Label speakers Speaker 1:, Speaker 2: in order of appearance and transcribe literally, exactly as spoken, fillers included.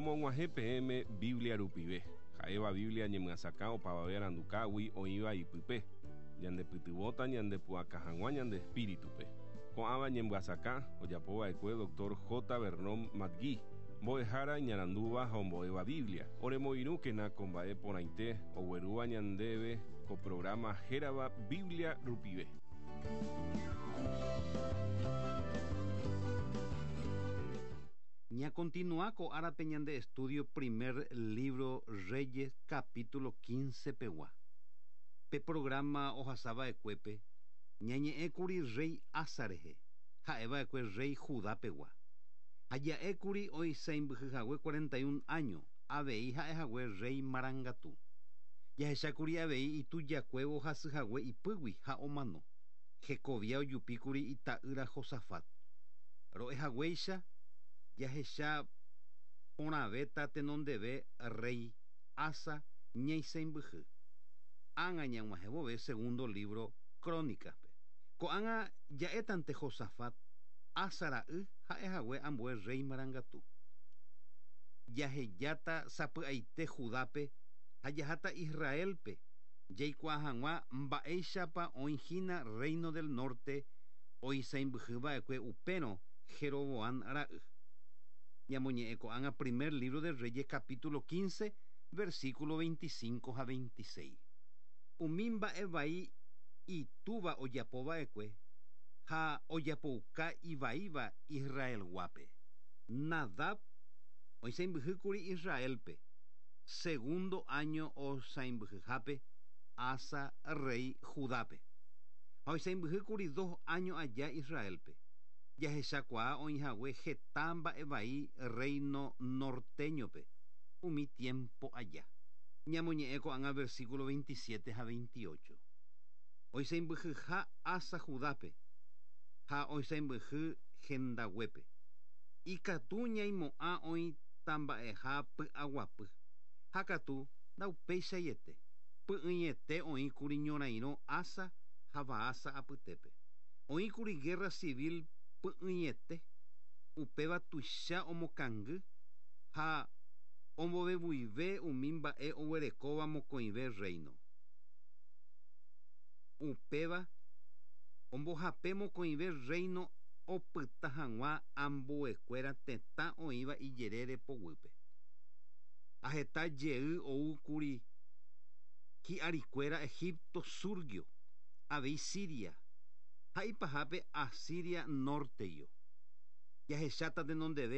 Speaker 1: Romog̃uahẽ peẽme Biblia rupive, ha'éva Biblia ñemyasakã opavave arandukágui oĩva ipype, ñandepytyvõta ñandepu'aka hag̃ua ñande espíritupe. Ko'ãva ñemyasakã ojapova'ekue doctor J. Vernon McGee, mbo'ehára iñarandúva ha ombo'éva Biblia. Oremoirũkena ko mba'e porãite oguerúva ñandéve ko programa hérava Biblia rupive.
Speaker 2: Ña continúa ko árape ñande estudio primer libro Reyes capítulo quince pegua. Pe programa ohasava'ekuépe ñañe'ẽkuri rey Asa rehe, ha'eva'ekue rey Judá pegua. Ha ja'ékuri oisãimbyhyhague cuarenta y un año, avei ha'ehague rey marangatu. Jahechákuri avei itujakuévo hasyhague ipýgui ha omano. Hekovia ojupíkuri ita'ýra Josafat. Ro'ehaguéicha jahecha porãvéta tenondeve rey Asa ñaisãimbyhy. Ág̃a ñag̃uahẽvove segundo libro Crónicaspe. Ko'ág̃a ja'étante Josafat Asa ra'y ha'ehague ambue rey marangatu. Jahejáta sapy'aite Judápe ha jaháta Israelpe jaikuaa hag̃ua mba'éichapa oĩhína Reino del Norte oisãimbyhyva'ekue upérõ Jeroboam ra'y. Ñamoñe'ẽ ko'ág̃a primer libro de Reyes capítulo quince versículo veinticinco ha veintiséis. Umi mba'e vai itúva ojapova'ekue ha ojapouka ivaíva Israelguápe. Nadab oisãimbyhýkuri Israelpe, segundo año osãimbyhyhápe Asa rey Judápe. Ha oisãimbyhýkuri dos años aja Israelpe. Jahechakuaa oĩhague heta mba'e vai reino norteñope umi tiempo aja. Ñamoñe'ẽ ko'ág̃a versículo veintisiete ha veintiocho. Oisãimbyhyha Asa Judápe ha oisãimbyhy hendaguépe. Ikatu ñaimo'ã oĩtamba'eha py'aguapy. Ha katu ndaupeichaiete. Py'ỹiete oĩkuri ñorairõ Asa ha Baasa apytépe. Oĩkuri guerra civil py'ỹiete, upéva tuicha omokangy ha ombovevuive umi mba'e oguerekóva mokõive reino. Upéva ombohape mokõive reino opyta hag̃ua ambuekuéra tetã oĩva ijerére poguýpe. Aheta jey oúkuri hi'arikuéra Egipto surgio, avei Siria, ha ipahápe Asiria norteyo. Jahecháta tenondeve